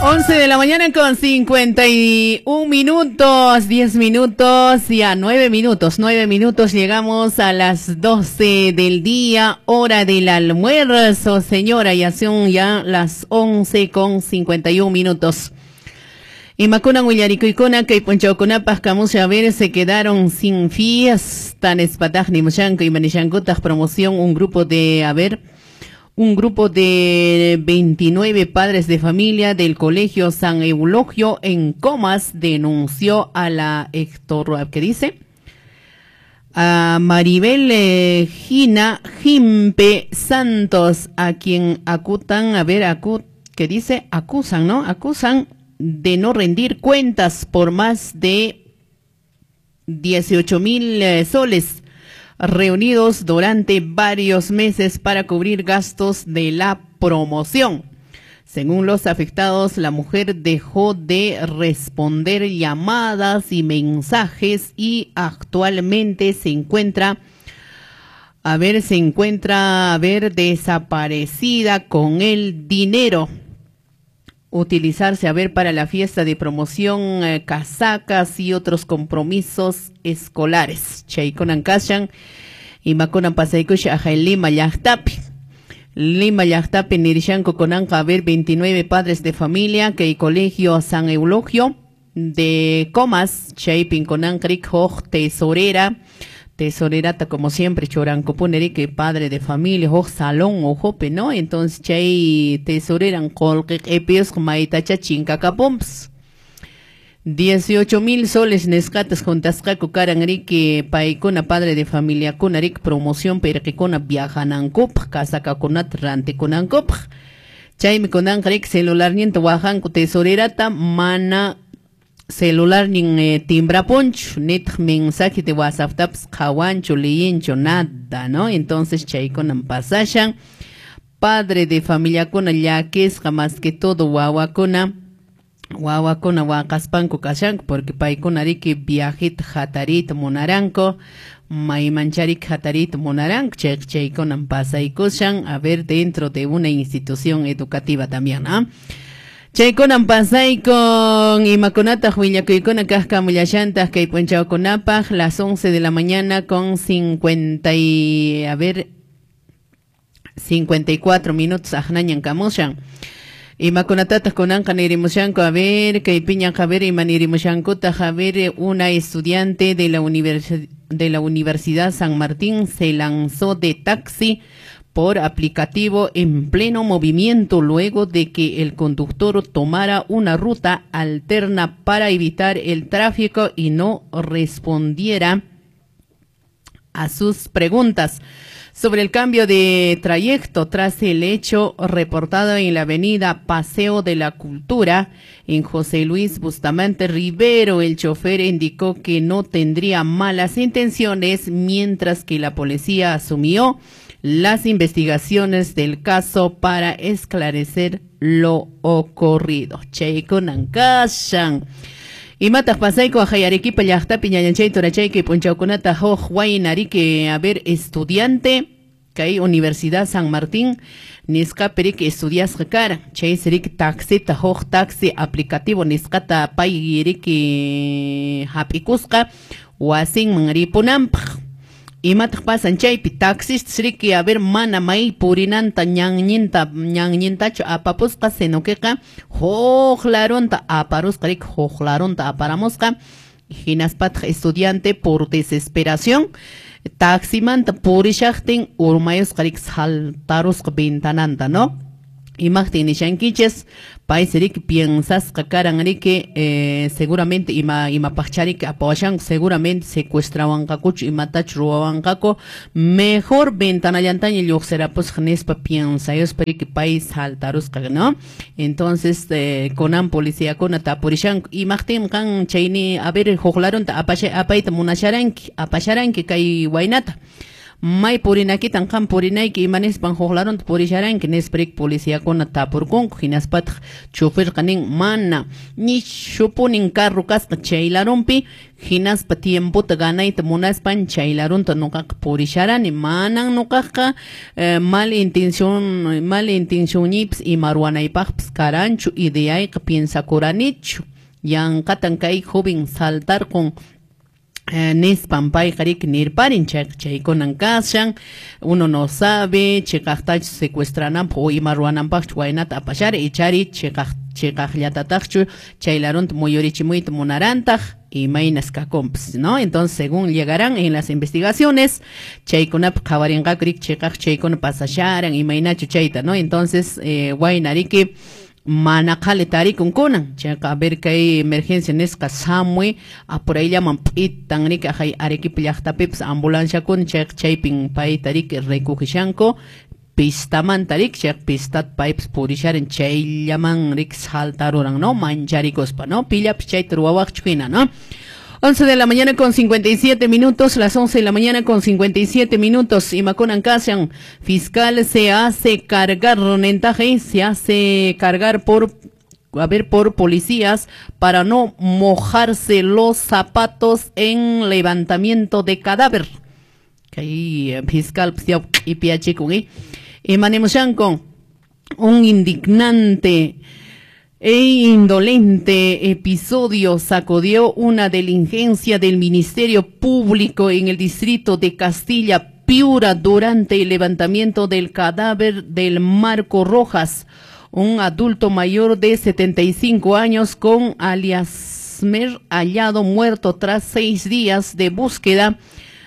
11 de la mañana con 51 minutos, 10 minutos, ya 9 minutos, 9 minutos, llegamos a las 12 del día, hora del almuerzo, señora, ya son ya las 11 con 51 minutos. Imakuna willarikuykuna kay p'unchawkunapaq kamusha a ver se quedaron sin fiesta nispataq nimushanku imanishankutaq promoción un grupo de a ver un grupo de 29 padres de familia del Colegio San Eulogio en Comas denunció a la Héctor, ¿qué dice? A Maribel Gina Jimpe Santos, a quien acutan, a ver, ¿qué dice? Acusan, ¿no? Acusan de no rendir cuentas por más de 18,000 soles reunidos durante varios meses para cubrir gastos de la promoción. Según los afectados, la mujer dejó de responder llamadas y mensajes y actualmente se encuentra, a ver, desaparecida con el dinero. Utilizarse, a ver, para la fiesta de promoción, casacas y otros compromisos escolares. Chaykunan kashan, imakunan pasaykusha ajay Lima llaqtapi. Lima llaqtapi nirishanku kunanqa, a ver, 29 padres de familia que el Colegio San Eulogio de Comas, chaypin kunanqa rik huk tesorera, tesorerata como siempre, churankupuneri que padre de familia, huk salón ojope, ¿no? Entonces chay tesoreran qullqi q'ipiusqa maytacha chinkakapumpas. 18,000 soles nisqatas juntasqaku karan riki paykuna padre de familia kuna rik promoción pirqikuna viajanankupaq kasakakunata rantikunankupaq. Chaymi kunanqa rik celularninta wajanku tesorerata mana celular nin timbrapunchu, nitaq mensaje de WhatsApp tapas qhawanchu, liyinchu, nada, ¿no? Entonces chaykunan pasashan. Padre de familiakuna llakisqa más que todo wawakuna, wawakuna waqaspanku kashanku porque paykuna riki viajita hatarita munaranku, maymancharik hatarita munaranku, chaykunan pasaykushan, a ver, dentro de una institución educativa también, ¿no? Chaykunan pasaykun imakunataq willakuykuna kaqkamullashantaq kay p'unchawkunapaq las 11 de la mañana con 54 minutos aqnañan kamushan. Imakunatataq kunanqa nirimushanku, a ver, kay piñanqa, a ver, ima nirimushankutaq, a ver, una estudiante de la Universidad San Martín se lanzó de taxi por aplicativo en pleno movimiento luego de que el conductor tomara una ruta alterna para evitar el tráfico y no respondiera a sus preguntas sobre el cambio de trayecto tras el hecho reportado en la avenida Paseo de la Cultura en José Luis Bustamante Rivero. El chofer indicó que no tendría malas intenciones, mientras que la policía asumió las investigaciones del caso para esclarecer lo ocurrido. Chaykunan kashan. Imataq pasayku ajay Arequipa llaqtapi ñañanchay turachayki p'unchawkunata huk wayna riki, a ver, estudiante kay Universidad San Martín nisqapi riki estudiasqa karan. Chaysi riki taxita huk taxi aplicativo nisqata pay riki hap'ikusqa wasinman ripunanpaq. Imataq pasan chaypi taxistas riki, a ver, mana may purinanta ñanñintachu apapusqa, sino queqa huk larunta aparusqa riki, huk larunta aparamusqa. Hinaspataq estudiante por desesperación taximanta purishaqtin urmayusqa riki, saltarusqa ventananta, ¿no? Imaqtin nishankichis, paysi riki piensasqa karan riki, seguramente imapaqchariki apawashanku, seguramente secuestrawanqakuchu, imatachu ruwawanqaku, mejor ventanallantaña lluqsirapusqa nispa piensayuspa riki pay saltarusqa, ¿no? Entonces kunan policíakuna tapurishanku, imaqtin qan chayni, a ver, huk larunta apayta munasharanki, apasharanki kay waynata. May purinakitan qam purinayki, imanispan huk larunta purisharanki nispa riki policiakuna tapurkunku. Hinaspataq choferqa nin mana nishupunin carro kasqa chay larunpi, hinaspa tiempota ganayta munaspan chay larunta nuqaqa purisharani, manan nuqaqa mal intencionñipis ima ruwanaypaqpis karanchu, ideayqa piensakuranichu, yanqatan kay joven saltarqun nispan payqa riki nirparin. Chayqa chaykunan kashan, uno no sabe chiqaqtachu secuestrananpaq o ima ruwananpaqchu waynata apashara, ichari chiqaqllatataqchu chay larunta muyurichimuyta munarantaq, imaynas kakunpas, ¿no? Entonces, según llegarán en las investigaciones, chaykunapi qhawarinqaku riki chiqaq chaykuna pasasharan, imaynachu chayta, ¿no? Entonces, wayna riki mana qhali tarikun kunan, chayqa a ver kay emergencia nisqa samui apurayllaman p'itan riki ajay Arequipa llaqtapipas ambulanciakuna, chayqa chaypin payta riki recogисhanku pistamanta riki, chayqa pistat paypas purisharan chayllaman riki saltaruran, ¿no? Mancharikuspa, ¿no? Pillapis chayta ruwawaqchu hina, ¿no? 11 de la mañana con 57 minutos, las 11 de la mañana con 57 minutos. Imakunan kashan, fiscal se hace cargar, nentaje, se hace cargar por, a ver, por policías para no mojarse los zapatos en levantamiento de cadáver. Kay fiscal ipiachikun, imanemushanko, un indignante e indolente episodio sacudió una diligencia del Ministerio Público en el distrito de Castilla Piura durante el levantamiento del cadáver del Marco Rojas, un adulto mayor de 75 años con aliasmer hallado muerto tras 6 días de búsqueda.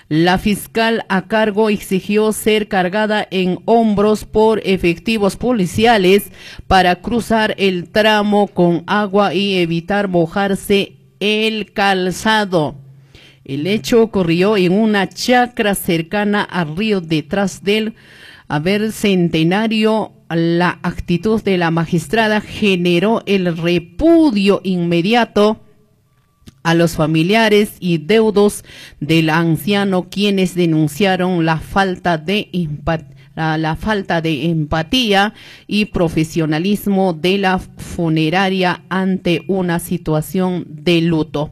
La fiscal a cargo exigió ser cargada en hombros por efectivos policiales para cruzar el tramo con agua y evitar mojarse el calzado. El hecho ocurrió en una chacra cercana al río detrás del centenario. La actitud de la magistrada generó el repudio inmediato a los familiares y deudos del anciano, quienes denunciaron la falta de empatía y profesionalismo de la funeraria ante una situación de luto,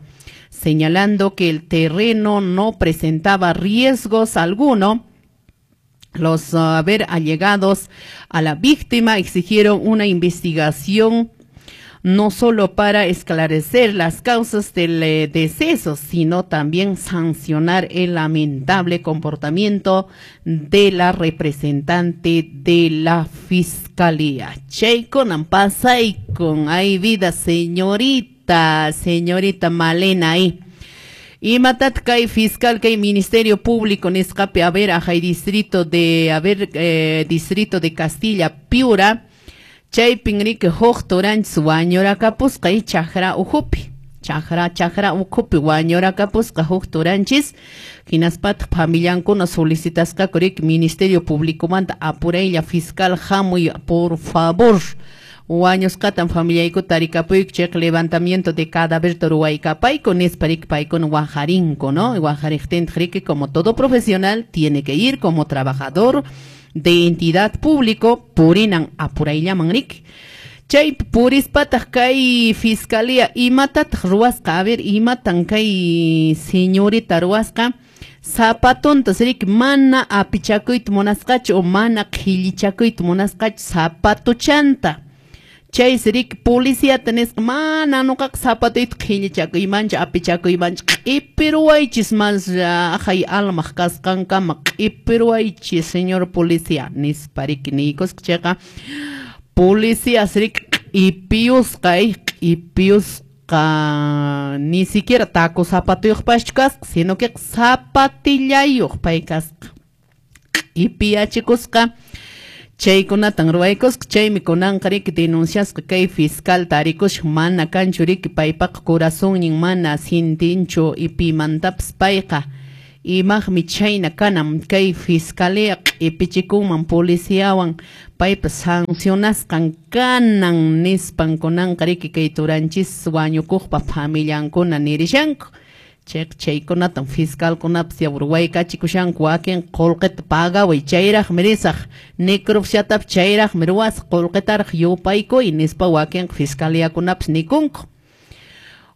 señalando que el terreno no presentaba riesgos alguno. Los allegados a la víctima exigieron una investigación no solo para esclarecer las causas del deceso, sino también sancionar el lamentable comportamiento de la representante de la fiscalía. Chaykunan pasaykun, hay vida, señorita, señorita Malena ahí. Imatat kay fiscal kay Ministerio Público nisqapi, a ver, ajay distrito de, a ver, distrito de Castilla Piura, chaypin riki huk turanchis wañurakapusqa y chakra ukhupi, chakra ukhupi wañurakapusqa huk turanchis, hinaspataq familiankuna solicitasqaku riki Ministerio Publicomanta apuraylla fiscal hamuy por favor, wañusqatan familiayku tarikapuyku chayqa levantamiento de cadáver ruwaykapayku nispa riki paykuna wajarinku, ¿no? Wajariqtintaq riki como todo profesional tiene que ir como trabajador de entidad público purinan apurayllaman riki. Chay purispataq kay fiscalía imatataq ruwasqa, a ver, imatan kay señorita ruwasqa, zapatontas riki mana apichakuyta munasqachu o mana qhillichakuyta munasqachu zapatuchanta. Chaysi riki policiata nisqa mana nuqaqa zapatuyta qhillichakuymanchu apichakuymanchu, q'ipiruwaychis mas ajay almaq kasqankama q'ipiruwaychis señor policía nispa riki niykusqa. Chayqa policías riki q'ipiyusqa, q'ipiyusqa ni siquiera taco zapatuyuqpaschu kasqa, sino que zapatillayuq pay kasqa, q'ipiyachikusqa. Chaykunatan ruwaykusqa, chaymi kunanqa riki denunciasqa kay fiscal tarikusqa mana kanchu riki paypaqa corazonnin mana sintinchu y pimantapas payqa, imaqmi chayna kanan kay fiscalía q'ipichikunman policiawan paypa sancionasqan kanan nispan kunanqa riki kay turanchis wañukuqpa familiankuna nirishanku. Chayqa chaykunatan fiscalkunapas waykachikushani wakin qullqita pagaway chayraqmi risaq necropsiatapas chayraqmi ruwasaq qullqitaraq yupaykuy nispa wakin fiscaliakunapas nikunku.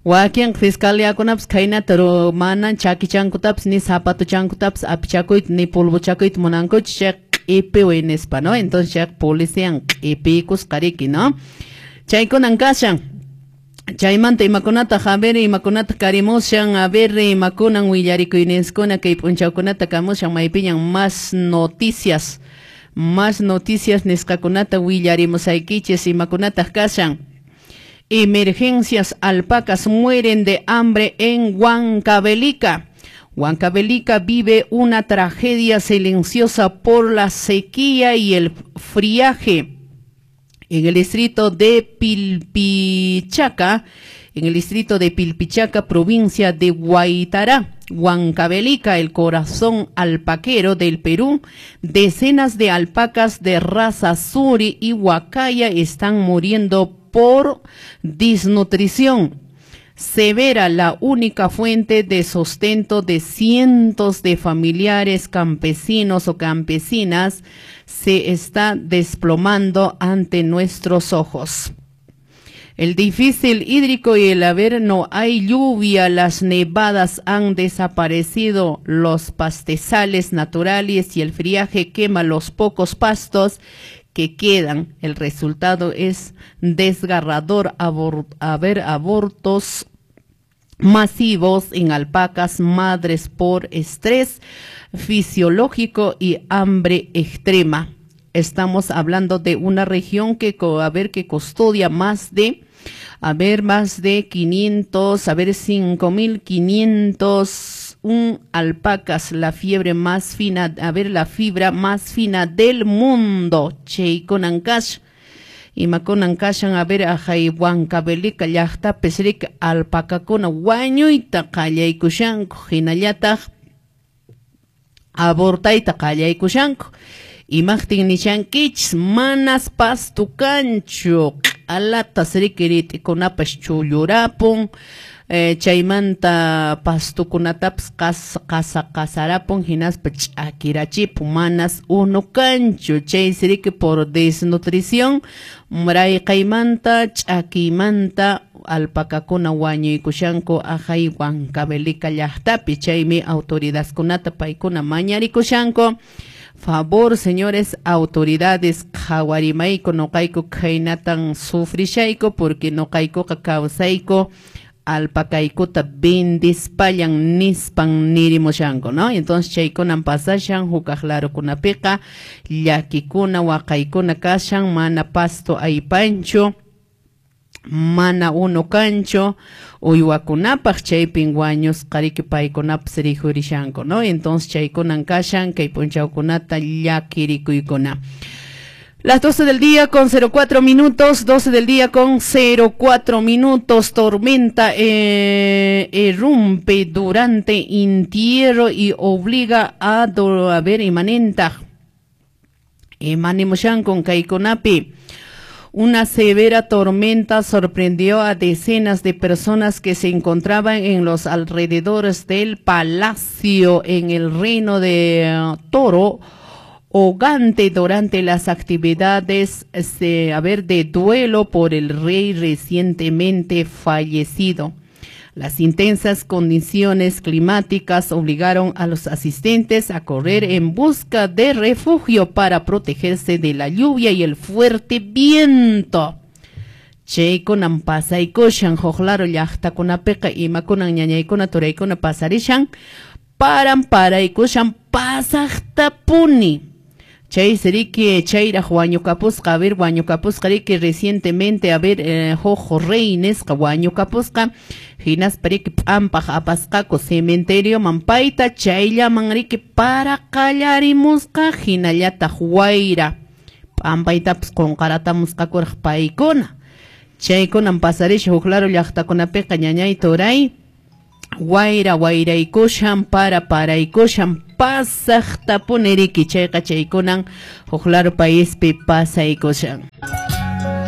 Wakin fiscaliakunapas khaynata manan chakichankutapas ni zapatuchankutapas apichakuyta ni polvochakuyta munankuchu chayqa q'ipiway nispa, ¿no? Entonces chayqa polician q'ipiykusqa riki, ¿no? Chaykunan kashan. Chaymanta imakunata a ver imakunata karimushan a ver imakunan willarikuyninskuna kay p'unchawkunata kamushan maypiñan más noticias nisqakunata willarimusaykichis imakunataq kashan. Emergencias, alpacas mueren de hambre en Huancavelica. Huancavelica vive una tragedia silenciosa por la sequía y el friaje. En el distrito de Pilpichaca, provincia de Huaytará, Huancavelica, el corazón alpaquero del Perú, decenas de alpacas de raza suri y huacaya están muriendo por desnutrición severa, la única fuente de sustento de cientos de familiares campesinos o campesinas se está desplomando ante nuestros ojos. El difícil hídrico y el haber no hay lluvia, las nevadas han desaparecido, los pastizales naturales y el friaje quema los pocos pastos que quedan. El resultado es desgarrador, haber abortos masivos en alpacas madres por estrés fisiológico y hambre extrema. Estamos hablando de una región que, que custodia más de, más de 500, 5.501 alpacas, la fiebre más fina, la fibra más fina del mundo. Chaykunan imakunan kashan, ajay Huancavelica llaqtapis riki alpacakuna wañuyta qallaykushanku, hinallataq abortayta qallaykushanku. Imaqtin nishankichis manas pasto kanchu, q'alatas riki rit'ikunapas chullurapun, chaymanta pastukunatapas qasarapun hinaspa ch'akirachipun, manas unu kanchu. Chaysi riki por desnutrición rayqaymanta ch'akiymanta alpacakuna wañuykushanku ajay Huancavelica llaqtapi. Chaymi autoridadkunata paykuna mañarikushanku. Favor, señores autoridades, qhawarimayku noqayku khaynatan sufrishayku porque noqaykuqa kawsayku alpacaykuta vendispallan nispan nirimushanku, ¿no? Entonces chaykunan pasashan hukaq larukunapiqa llakikuna waqaykuna kashan, mana pasto aypanchu, mana unu kanchu uywakunapaq, chaypin wañusqa riki paykunapas rikhurishanku, ¿no? Entonces chaykunan kashan kay p'unchawkunata llakirikuykuna. Las 12 del día con 04 minutos, 12 del día con 04 minutos, tormenta irrumpe durante entierro y obliga a imanenta. Imanimushan con kaykunapi. Una severa tormenta sorprendió a decenas de personas que se encontraban en los alrededores del palacio en el reino de Toro Ogante durante las actividades de duelo por el rey recientemente fallecido. Las intensas condiciones climáticas obligaron a los asistentes a correr en busca de refugio para protegerse de la lluvia y el fuerte viento. Chaykunan pasaykushan huk laro llaqtakunapiqa imakunan ñañaykuna turaykuna pasarishan paran paraykushan pasaqtapuni. Chaysi riki chayraq wañukapusqa, wañukapusqa riki recientemente, huk rey nisqa wañukapusqa, hinaspa riki p'ampaq apasqaku cementerioman payta, chayllaman riki para qallarimusqa, hinallataq wayra p'ampaytapas qunqaratamusqakuraq paykuna. Chaykunan pasarisha huk laro llaqtakunapiqa ñañay turay, wayra wayraykushan, para paraykushan, pasaqtapuni riki. Chayqa chaykunan huk laro paispi pasaykushan.